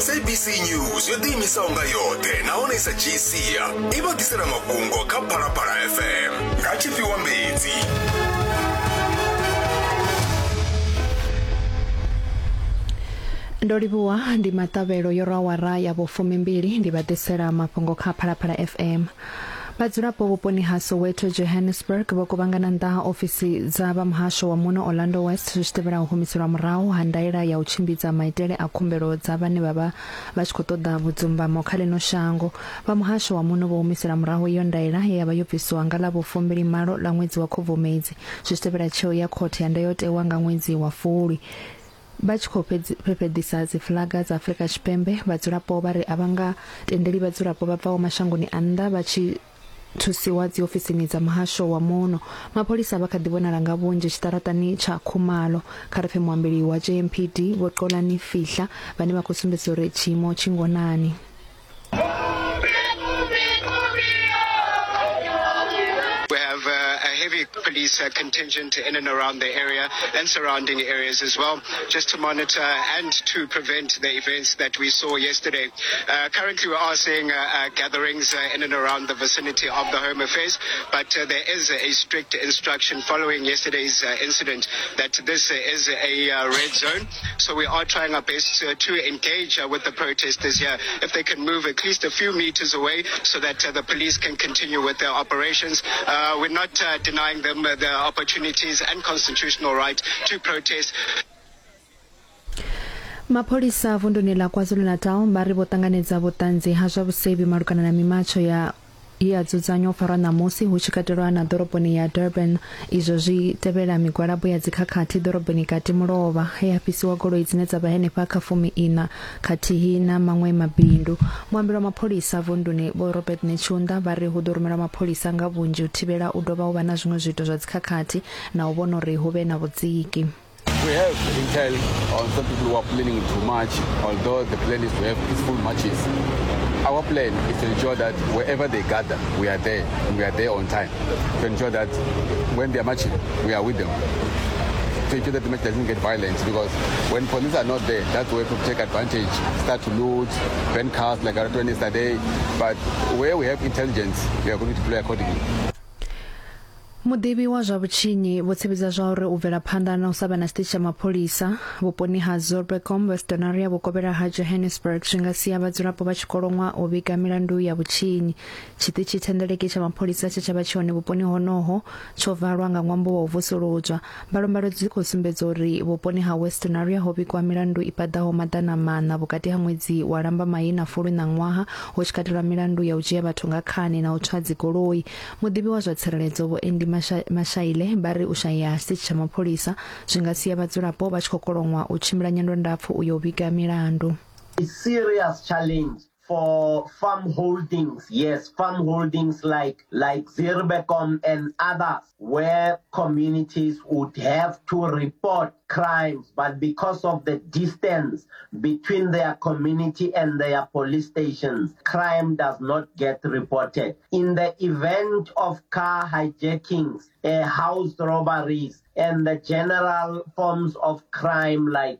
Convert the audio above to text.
SABC News yo ḓiimisaho nga yoṱhe nahone i sa dzhii sia i vha ḓisela mafhungo kha Phalaphala FM nga tshifhiwa mbedzi. Ndo livhuwa ndi maṱavhelo yo rwa awara ya vhufumimbili ndi vha ḓisela mafhungo kha Phalaphala FM. Vhadzulapo vhuponi ha Soweto, Johannesburg vho kuvhangana nnḓa ha ofisi dza vha muhasho wa muno Orlando West zwi tshi tevhela u humiselwa murahu ha ndaela ya u tshimbidza maitele a khumbelo dza vhane vha vha vha tshi khou ṱoḓa vhudzumbamo kha ḽino shango. Vha muhasho wa muno vho humisela murahu iyo ndaela ye ya vha yo bvisiwa nga ḽa vhufumbili-malo ḽa ṅwedzi wa Khubvumedzi zwi tshi tevhela tsheo ya khothe ya ndayotewa nga ṅwedzi wa Fulwi. Vha tshi khou fhefheḓisa dzifuḽaga dza Afrika Tshipembe, vhadzulapo vha ri a vha nga tendeli vhadzulapo vha bvaho mashangoni a nnḓa vha tshi thusiwa dziofisini dza muhasho wa muno. Mapholisa vha kha ḓi vhonala nga vhunzhi tshiṱaraṱani tsha Khumalo. Kha ri pfe muambeli wa JMPD Vho Xolani Fihla vhane vha khou sumbedzisa uri tshiimo tshi ngonani. We have a heavy police contingent in and around the area and surrounding areas as well, just to monitor and to prevent the events that we saw yesterday. Currently, we are seeing gatherings in and around the vicinity of the Home Affairs, but there is a strict instruction following yesterday's incident that this is a red zone. So we are trying our best to engage with the protesters here, if they can move at least a few meters away so that the police can continue with their operations. We're not denying them the opportunities and constitutional right to protest. Mapholisa vunduni ḽa KwaZulu-Natal vha ri vho ṱanganedza vhuṱanzi ha zwa vhusevhi malugana na mimatsho ya ye ya dzudzanywa u farwa ṋamusi hu tshi katelwa na ḓoroboni ya Durban. Izwo zwi tevhela migwalabo ya dzikhakhathi ḓoroboni kati mulovha he ha fhisiwa goloi dzine dza vha henefha kha fumi-iṋa khathihi na maṅwe mabindu. Muambeli wa mapholisa vunduni Vho Robert Netshiunda vha ri hu ḓo rumelwa mapholisa nga vhunzhi u thivhela u dovha u vha na zwiṅwe zwiito zwa dzikhakhathi na u vhona uri hu vhe na vhudziki. We have intel on some people who are planning to march, although the plan is to have peaceful marches. Our plan is to ensure that wherever they gather, we are there, and we are there on time. To ensure that when they are marching, we are with them. To ensure that the march doesn't get violent, because when police are not there, that's where people take advantage, start to loot, burn cars like I told yesterday. But where we have intelligence, we are going to play accordingly. Muḓivhi wa zwa vhutshinyi vho tsivhudza zwa uri u bvela phanḓa na u sa vha na tshiṱitshi tsha mapholisa vhuponi ha Zuurbekom, Westonaria vhukovhela ha Johannesburg zwi nga sia vhadzulapo vha tshi koloṅwa u vhiga milandu ya vhutshinyi. Tshiṱitshi thendeleki tsha mapholisa tshe tsha vha tshi hone vhuponi honoho tsho valwa nga ṅwambo wa u vusuludzwa. Mbalombalo dzi khou sumbedza uri vhuponi ha Westonaria ho vhigwa milandu i paḓaho 400 vhukati ha ṅwedzi wa Lambamai na Fulwi ṋaṅwaha, hu tshi katelwa milandu ya u dzhia vhathu nga khani na u tswa dzigoloi. Muḓivhi wa zwa tsireledzo Vho Andy Mashaile vha ri u shayea ha tshiṱitshi tsha mapholisa zwi nga sia vhadzulapo vha tshi khou koloṅwa u tshimbila nyendo ndapfu u ya u vhiga milandu. A serious challenge for farm holdings, yes, farm holdings like, like Zuurbekom and others, where communities would have to report crimes, but because of the distance between their community and their police stations, crime does not get reported. In the event of car hijackings, house robberies, and the general forms of crime like